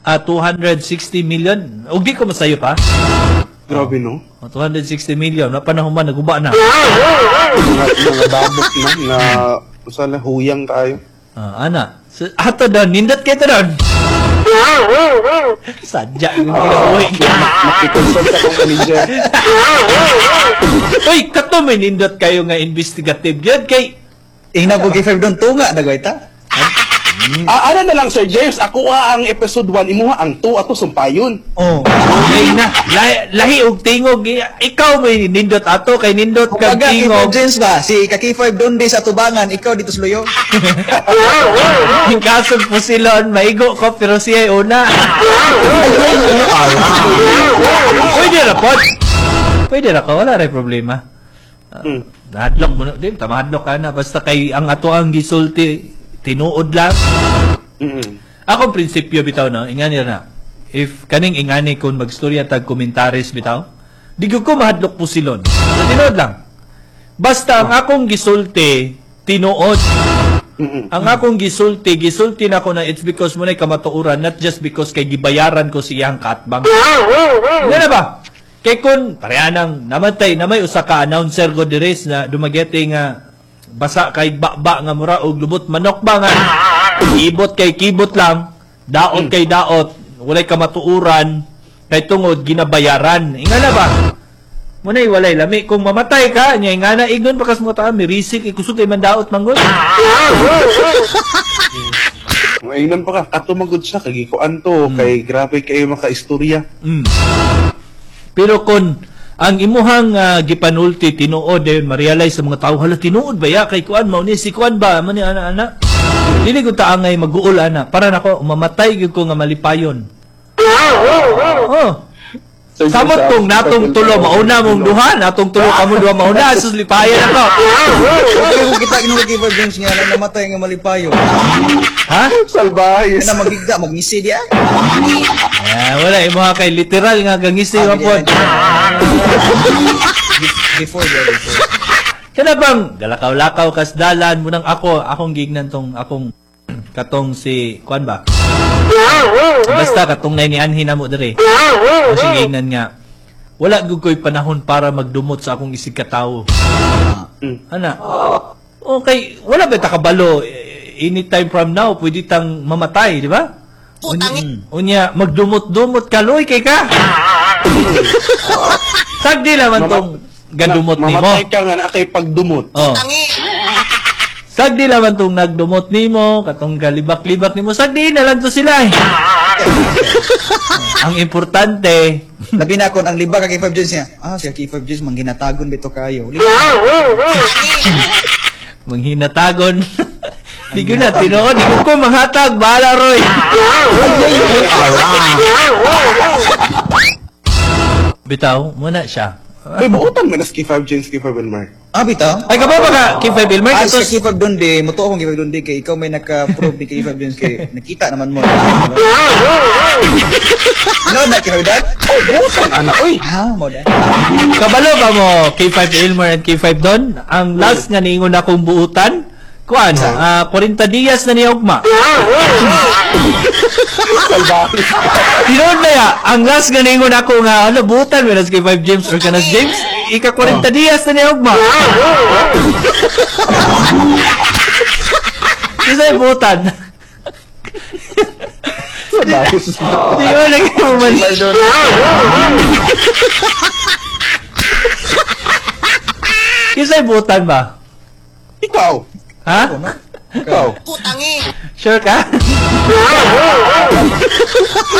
260 million. Ug di ko masayo pa. Grabe, no? Oh, 260 million na panahon man naguba na. Mga dabok na, na sana huyang kayo. Ah, ana. So, ato doon, nindot kayo to doon. Sadya yung kinabuhi. Makikonsult akong manager. Uy, kato may nindot kayo nga investigative. Yun kay Ingna po kay Five doon tunga nagway ta. Ah, ana na lang, Sir James. Ako ang episode 1, imuha ang 2 ato sumpayon. Oh. Lahi na. Lahi, lahi og tingog. Ikaw may nindot ato kay nindot kag Kumbaga, K5 tingog. James ba? Si ka K5 doon di sa tubangan, ikaw dito sa luyo. Ang kasog po silon, maigo ko pero siya ay una. Pwede ra pod. Pwede ra ko, wala ray problema. Hadlok mo na, di, tama hadlok ka na. Basta kay ang ato ang gisulti, tinuod lang. Akong prinsipyo bitaw no, ingani na. If kaning ingani kung magstorya tag komentaris bitaw, di gyud ko mahadlok po silon. So, tinuod lang. Basta ang akong gisulti, tinuod. Ang akong gisulti, gisulti na ko na it's because mo na'y kamatuoran, not just because kay gibayaran ko siyang katbang. Nga na ba? Kay kun pareha nang namatay na may usa ka announcer ko diri na Dumaguete nga basa kay ba nga mura og lubot manok ba nga ibot kay kibot lang, daot kay daot, walay kamatuoran kay tungod ginabayaran. Inga na ba? Muna'y walay lami. Kung mamatay ka, nya nga na igon pa kas mo ta, mirisik, ikusog kay mandaot manggol. Mainan pa ka, kato magud siya, kagikuan to, kay grabe kayo makaistorya. Pero kung ang imuhang gipanulti tinuod eh, ma-realize sa mga tao, hala tinuod ba ya kay kuan mao ni si kuan ba man ni ana ana. Dili ko taangay maguol ana. Para nako mamatay gyud ko nga malipayon. Oh. Sir Samot James, kung natong tulo mauna mong duha, natong tulo kamo duha mauna, sus lipayan ako. Pero kung kita ginuha K5 James nga na namatay nga malipayo. Ha? Salbahe. Kana magigda, magngisi di ah. Ah, wala imuha kay literal nga gangisi Ah, wa pod. Before di ah, before. Kana bang galakaw-lakaw kasdalan munang ako akong gignan tong akong katong si kuan ba? Basta katong nay ni anhin namo diri. Kasi gignan nga wala gud ko'y panahon para magdumot sa akong isig katawo. Ana. Okay, wala ba ta kabalo anytime from now pwede tang mamatay, di ba? Unya, unya magdumot-dumot ka loy kay ka. Sagdi laman tong gadumot nimo. Mamatay ka nga na kay pagdumot. Oh. Sagdi laman tong nagdumot nimo, katong galibak-libak nimo, sagdi na lang to sila eh. Ang importante, Labi na kon ang liba ka K5 James niya. Ah, si K5 James mangginatagon bito kayo. Manghinatagon. Di ko na tinuod, di ko manghatag, bahala Roy. Bitaw, muna siya. Ay, buotan man as K5 James, K5 Elmer. Ah, bitaw. Ay, kabaw ba ka, K5 Elmer? Ah, Katos, sa K5 doon di, mutuo akong K5 doon di, kay ikaw may naka-prove di K5 James kay nakita naman mo. No, na K5 dad? Oh, buotan, ana, oy. Ah, mo da. Kabalo ba mo K5 Elmer and K5 Don? Ang last nga niingon akong buutan, kuan, 40 dias na niya ugma. Salbahe. Tinuod na ya, ang last nga niingon ako nga, ano, buutan, whereas K5 James or kanas James, ika 40 dias na niya ugma. Isa yung buutan. Salbahe. Di ba lagi mo man? Isa yung buutan ba? Ikaw. Ha? Ikaw. Sure ka?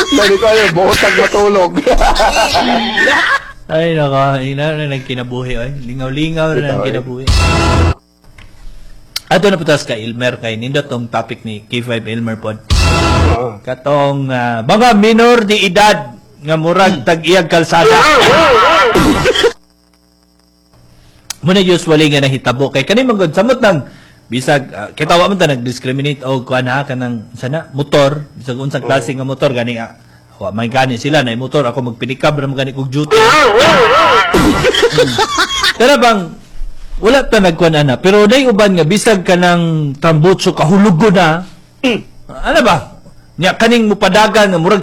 Sabi ko, ay, buotag matulog. Ay, nako. Ina na nagkinabuhi. Ay. Lingaw-lingaw na Ito, ay. nagkinabuhi. Ato na putas ka, Ilmer, kay nindot tong topic ni K5 Ilmer pod. Katong mga minor di edad nga murag tag-iyag kalsada. Muna usually nga nahitabo kay kani man gud samot nang bisag kita wa man ta nag-discriminate og kuan ha kanang sana motor bisag unsang klase nga motor gani wa man gani sila na motor ako magpinikab ra man gani kog duty. Pero bang wala ta nagkuan ana pero nay uban nga bisag kanang tambutso kahulugo na. Ano ba? Nya kaning mupadagan nga murag